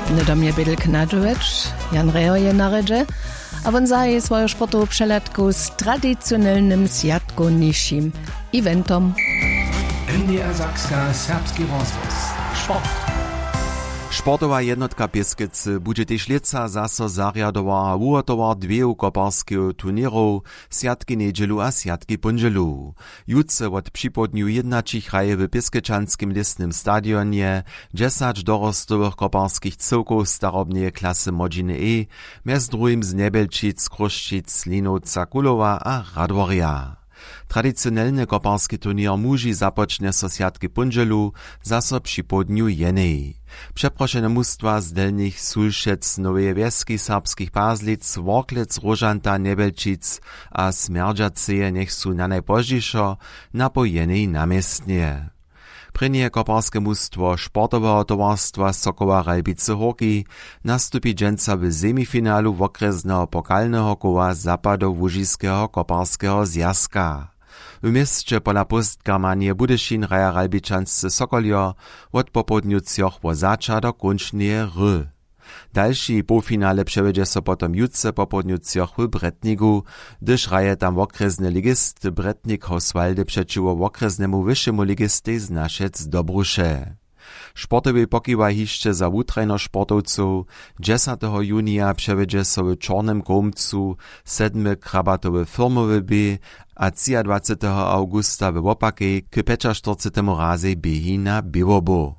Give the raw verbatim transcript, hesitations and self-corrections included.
Hnydom je bědl knadźowjeć. Jan Reho je na rjedźe, a wón zahaji swoju sportowu přehladku z tradicionelnym swjatkownišim eventom. N D R Sakska, serbski rozhłos. Sport. Sportowa jednotka Pěskecy budźe tež lětsa zaso zarjadowar a wuhotowar dweju koparskeju turněrow, swjatki njedźelu a swjatki póndźelu. Jutře wot připołdnju jědnaćich hraje w pěskečanskim lěsnym stadionje dźesać dorostowych koparskich cyłkow starobneje klasy młodźiny e, mjez druhim z Njebjelčic, Chrósćic, Linowca, Kulowa a Radworja. Tradicionelny koparski turněr muži započnje so swjatki póndźelu, zaso připołdnju jenej. Přeprošene mustwa z delnich sulšec noweje wjeski serbskich pazlic, worklec, róžanta, njebjelčic a smjerdźaceje njech su nanajpozdźišo napoł jenej na městnje. Prěnje koparske mustwo sportoweho towarstwa sokoła ralbicy hórki nastupi dźensa w semifinalu wokrjesneho pokalneho koła zapadołužiskeho koparskeho zwjazka. W měsće pola póstkarmanije budyšin hraja ralbičansce sokoljo wot popołdnju třoch wo zača do kónčneje hry. Dalši połfinale přewjedźe so potom jutře popołdnju třoch w bretniku, hdyž hraje tam wokrjesny ligist bretnik hoswaldy přećiwo wokrjesnemu wyšemu ligistej z našec dobruše. Sportowej pokiwa hišće za wutrajnych sportowcow. Dźesateho junija přewjedźe so w čornym kołmcu sedmy krabatowy firmowy běh a třiadwaceteho awgusta we wopakej k pjećaštyrcetemu razej běhi na běłobu.